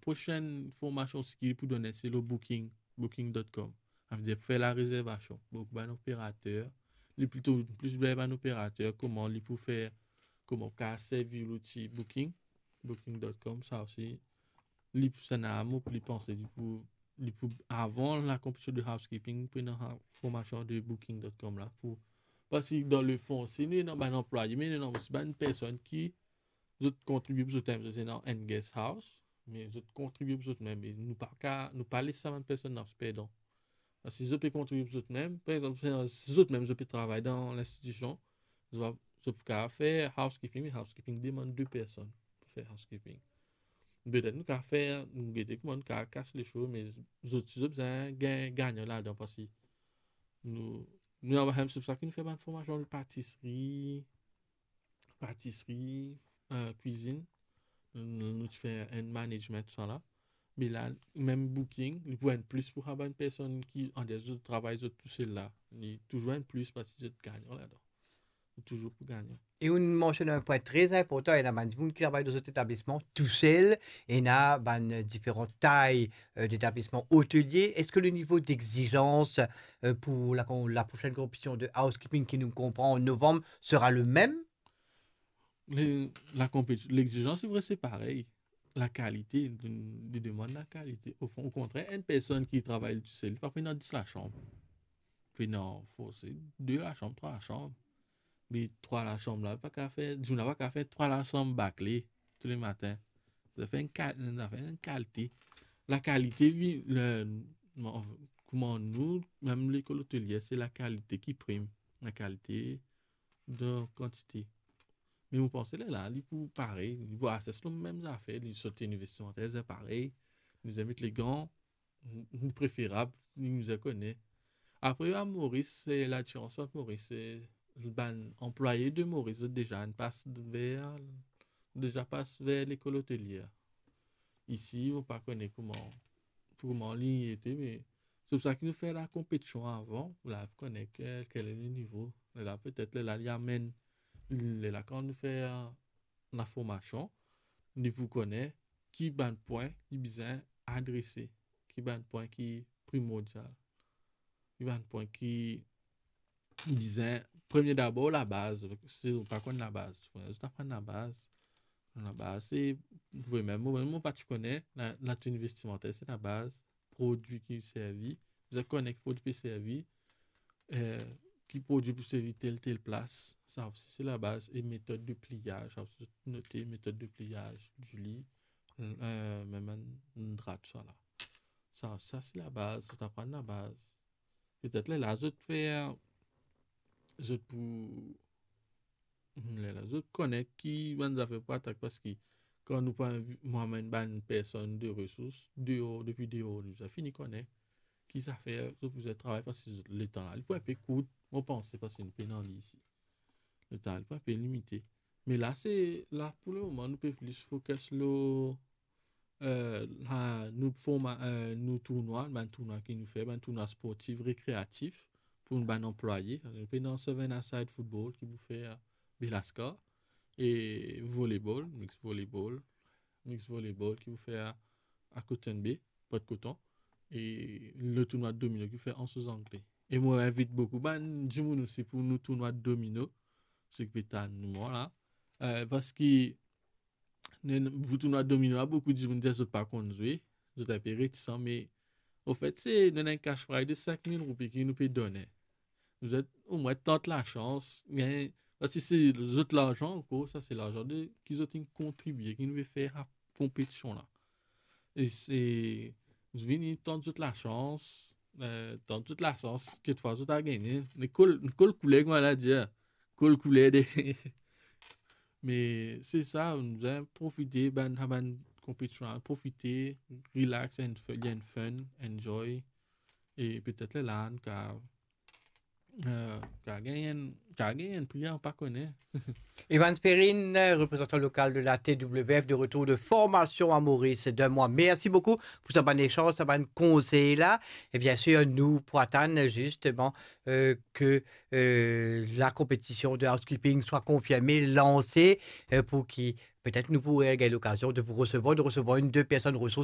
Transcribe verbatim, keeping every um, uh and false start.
prosenn formasion osi ki pou donn, se lor Booking, booking dot com. Savedir fer larezervasion. Boukou bann operater, li plito plis ber bann operater, kouma li pou fer, kouma ou kapav servi louti Booking, booking dot com, sa osi, li pou, sa ena mo pou li panse, li pou, li pou, avan lakonpetision de housekeeping, pou ena formasion de booking dot com la, pou, parski dan lefon, si nou ena bann anplwaye, me nou ena osi bann personn ki zot kontribie pou zot mem, zot ena enn guest house, me zot kontribie pou zot mem, e nou pa ka, nou pa les sa bann personn la perdan. Parski si zot pe kontribie pou zot mem, par exanp, si zot mem zot pe travay dan linstitision, zot, zot kapav fer housekeeping, me housekeeping demann de personn pou fer housekeeping. Petet nou kapav fer, nou gete kouma nou kapav kas leso, me zot, si zot bizin gagn, gagnan ladan, parski nou, nou ena, se pou sa ki nou fer bann formasion de patisri, patisri, eh, kwizinn. Nou, nou ti fer enn management, tousala. Me la, mem Booking, li pou enn plis pou sa bann personn ki, an de zot travay zot tousel la. Li touzour enn plis parski zot gagnan ladan. Ou touzour pou gagnan. E ou mansionn enn pwin tre inportan, ena bann dimoun ki travay dan zot etablisman tousel, ena bann diferan tay, eh, detablisman otelie. Eski le nivo dexizans, eh, pou la kon-, laprosenn konpetision de housekeeping ki nou konpran an novanm sera le mem? Le, la konpeti-, lexizans, se vre, se parey. Lakalite, li demann lakalite. O fon, okontrer, enn personn ki travay tousel, li pa pou ena dis lasanm. Pou ena, forse, de lasanm, trwa lasanm. Me trwa lasanm la, pa kapav fer, dimoun la pa kapav fer trwa lasanm bakle toulemardi. Sa fer enn kal-, sa fer enn kalite. Lakalite, vi-, le, kouma nou, mem lekol otelie, se lakalite ki prim. Lakalite dan kantite. Me mo panse lerla, li pou parey, li pou ases lor mem zafer, li sot investimanter, li bizin parey, li bizin met legan, li preferab, li bizin kone. Apre, a Moris, se ladiferans ant Moris, se bann anplwaye de Moris, zot deza inn pas ver, deza pas ver lekol otelie. Isi, mo pa kone kouma, kouma li ete, me se pou sa ki nou fer lakonpetision avan, pou la kone ke, kel le nivo. Lerla, petet, lerla, li amenn, lerla, kan nou fer laformasion, li pou kone ki bann pwin li bizin adrese, ki bann pwin ki primordial, ki bann pwin ki bizin, premie dabor, labaz. Si ou pa konn labaz, zot aprann labaz. Labaz, se, mwa mem, mwa mem, mo pa ti kone, la, lateni vestimanter, se labaz, prodwi ki servi, bizin kone ki prodwi pe servi, eh, ki prodwi pou servi tel, tel plas, sa osi se labaz, e metod de pliyaz, sa osi note, metod de pliyaz di li, eh, mem enn, enn dra, tousala. Sa, sa se labaz, zot aprann labaz. Petet lerla zot fer, zot pou, lerla zot kone ki bann zafer pou atak, parski kan nou pa invi-, mo amenn bann personn de resours deor, depi deor, nou bizin fini kone ki zafer zot pou zot travay, parski zot letan la, li pou enpe kourt, mo panse, parski nou pena li isi. Letan la, li pou enpe limite. Me la, se, la, pou lemoman, nou pe plis fokis lor, eh, la, nou forma-, eh, nou tournwa, bann tournwa ki nou fer, bann tournwa sportif, rekreatif, pou bann anplwaye. Nou pena Seven-a-Side Football ki pou fer Belascar, e volleyball, mix volleyball, mix volleyball ki pou fer a Cotton Bay, Port Coton, e le tournwa domino ki pou fer Anse aux Anglais. E mo invit boukou bann dimoun osi pou nou tournwa domino, seki pe tann mwa la. Eh, parski nou, nou, pou tournwa domino la, boukou dimoun dir zot pa konn zwe, zot enpe retisan, me, anfet, se, nou ena enn cash prize de sink mil roupi ki nou pe done. Zot omwin tant lasans, gagn, parski se zot larzan ankor, sa se larzan de, ki zot inn kontribie, ki nou pe fer sa konpetision la. E se, zot vini tant zot lasans, eh, tant zot lasans, kekfwa zot a gagne. Me kol, kol kouler, kouma la dir, kol kouler de. Me se sa, nou bizin profite, bann, sa bann konpetision la, profite, relax and fu-, and fun, enjoy. E petet lerla, nou ka, eh, ka gagn enn, ka gagn enn pri, nou pa kone. Evans Perrine, représentant local de la T W F, de retour de formation à Maurice d'un mois. Merci beaucoup pour sa bann échange, sa bann konsey la. Et bien sûr, nou pou atann justement, euh, que, euh, la compétition de housekeeping soit confirmée, lancée, euh, pour ki petet nou pou gagn lokazion de vous recevoir, de recevoir une, deux personnes ressources